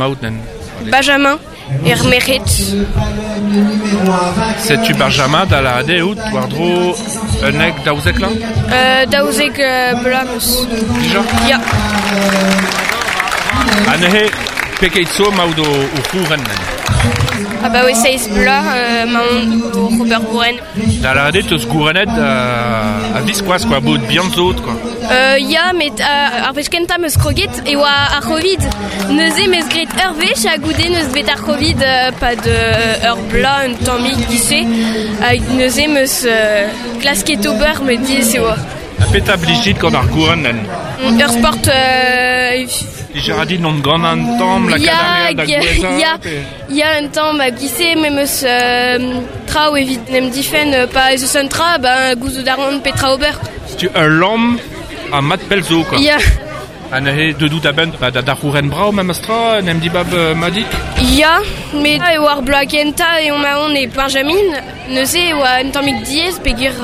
Maoutnen. Benjamin er merc'hed. Setu Benjamin da lâret eo out war-dro 11, 12 la? 12 bloaz 'meus. Dija? Ya. Ha neuze, pegeit zo 'maout o c'houren? Abaoe seizh bloaz emaon oc'h ober gouren. Da lâret eo 'teus gourennet a-viskoazh quoi, bout bihan zo out quoi. Ya, met ar wech kentañ 'm eus kroget e oa ar C'hovid. Neuze 'm eus graet ur wech ha goude 'neus bet ar C'hovid 'pad ur bloaz un tammig giz-se. Hag neuze 'm eus klasket ober met diaes e oa. Ha petra 'blij dit gant ar gourenn? Ur sport Dija a dit n'on gant un tamm lakaat ar re da gouezhañ Ya, ya un tamm hag giz-se me 'm eus traoù evit en em difenn pa ez eus un tra, ben gouzout a ran petra ober. Setu ul lamm ha mat pell zo quoi. Ya. Ha neuze deuet out a-benn ba, da c'houren brav memes tra, en em dibab madik? Ya, met eo ar bloaz kentañ eo emaon e Benjamin. Neuze e oa un tammig diaes peogwir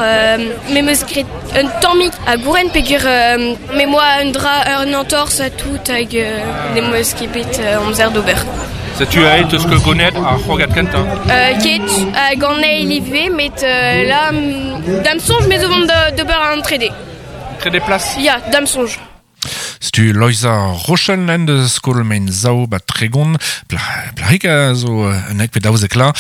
me 'm eus graet un tammig a gouren peogwir me 'm boa un dra un entorz ha tout hag n'em eus ket bet amzer d'ober. Setu aet eus ket gonet ar c'hrogad kentañ? Ket, hag an eil ivez, met là, da'm soñj me zo vont d'ober an trede. Trede plas? Ya, da'm soñj. Setu Loeiza Rochel en deus skol mein zaou ba 30, plac'hig a zo 11 pe 12 la,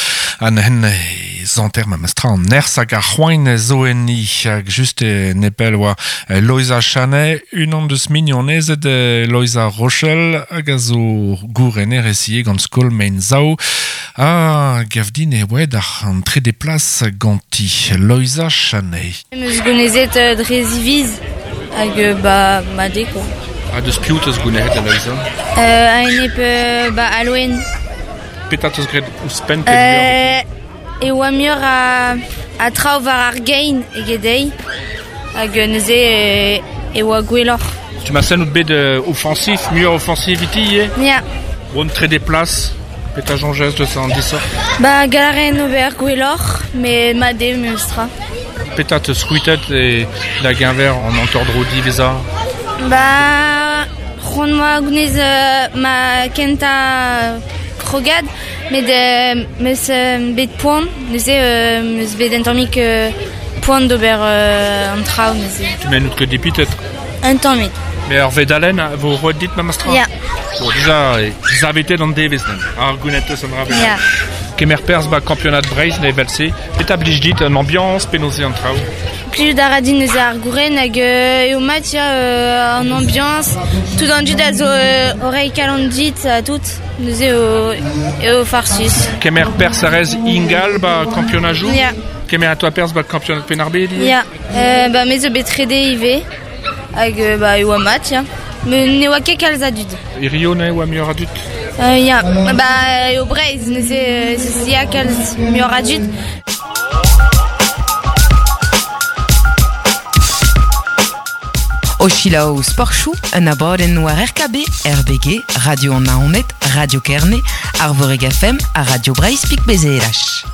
ha neuzen e zanter memes tra an nerzh hag ar c'hoain zo enni. Hag just e nepell oa Loeiza Chanet, unan deus mignonezed Loeiza Rochel, hag a zo gourenerez ivez gant skol mein zaou. Ha gav din e oa aet an trede plas ganti, Loeiza Chanet. Em eus gounezet dre ziviz hag ba mat eo quoi. Ha deus piv 'teus gounezet Aloysa? A-enep ba Aloen. Petra 'teus graet ouzhpenn pe muioc'h? E oa muioc'h a traoù war ar gein eget dezhi hag neuze e oa gwelloc'h. Tu m'as out bet ofañsif, muioc'h ofañsif ivez ivez? Ya. Bon, trede plas, petra soñjez deus an disoc'h? Ba gall a raen ober gwelloc'h, met mat eo memestra. Petra 'teus c'hwitet e da geñver an hanter-dro diwezhañ? Ba c'hoant 'moa gounez ma kentañ krogad, met 'm eus bet poan, neuze 'm eus bet un tammig poan d'ober an traoù neuze. Tu m'en out ket dipitet? Un tammig. Mais ur vedalenn a vo roet dit memestra? Ya. Bon, dija, savetet an devezh neuze. Ar gounet eus an dra bennak. Ya. Kemer perzh ba kampionad Breizh evel-se. Petra blij dit an ambiañs, penaos eo an traoù? Plijout a ra din neuze ar gouren hag eo mat ya an ambiañs. Tout an dud a zo o reiñ kalon dit ha tout. Neuze eo, eo farsus. Kemer perzh a rez ingal ba kampionajoù? Ya. Kemer a toa perzh ba kampionad Penn-ar-Bed ivez? Ya. Ba me zo bet trede ivez. Hag ba e oa mat ya. Met ne oa ket kalz a dud. Hirio ne oa muioc'h a dud? Ya, ba eo Breizh neuze ez ya kalz muioc'h a dud. O selaou Sportchoù, un abadenn war RKB, RBG, Radio an Naoned, Radio Kerne, Arvorig FM ha Radio Breizh Pik BZH.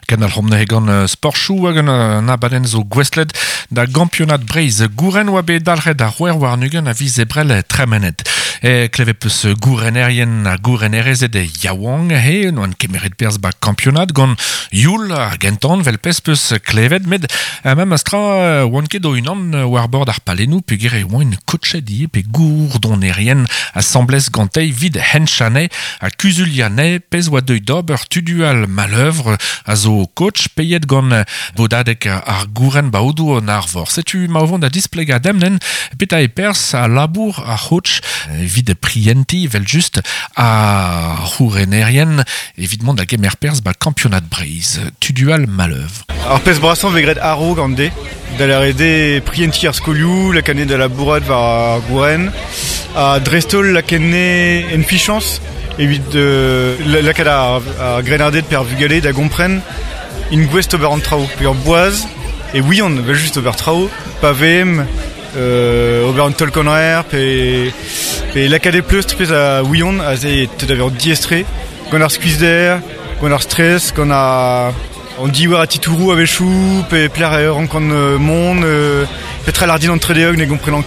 Kendalc'homp neuze gant sportchoù hag un abadenn zo gouestlet da gampionad Breizh. Gouren oa bet dalc'het ar 26 a viz Ebrel tremenet. E klevet peus gourenerien ha gourenerezed yaouank he n'oant kemeret perzh ba kampionad gant youl ar gentan vel pezh peus klevet met memes tra oant ket o-unan war bord ar palennoù peogwir e oant koachet ivez pe gourdonerien asambles gantei 'vit henchane Ha kuzuliañ pezh oa deuet d'ober Tudual Maleuvre a zo coach peiet gant bodadeg ar gouren baodoù an Arvor. Setu ma o vont da displegañ demp petra eo perzh ha labour ar c'hoach evit prientiñ evel-just ar c'hourenerien evit mont da gemer perzh ba kampionad Breizh. Tudual Maleuvre. Ar pezh brasañ vez graet a-raok an deiz, da lâret eo prientiñ ar skolioù, lakaat anezhe da labourat war ar gouren, ha dreist-holl lakaat anezhe en fichañs evit lakaat ar grennarded pe ar vugale da gompren int gouest ober an traoù. Pe ur boaz e ouiont evel-just ober traoù pa vemp ober un taol-kaner pe, pe lakaat e pleustr pezh a ouiont aze e teu da vezañ diaes-tre gant ar skuizhder, gant ar stress, gant ar an diouer a titouroù a-wechoù pe pelec'h e rankan mont. Petra lardin an tredeog ne gomprenan.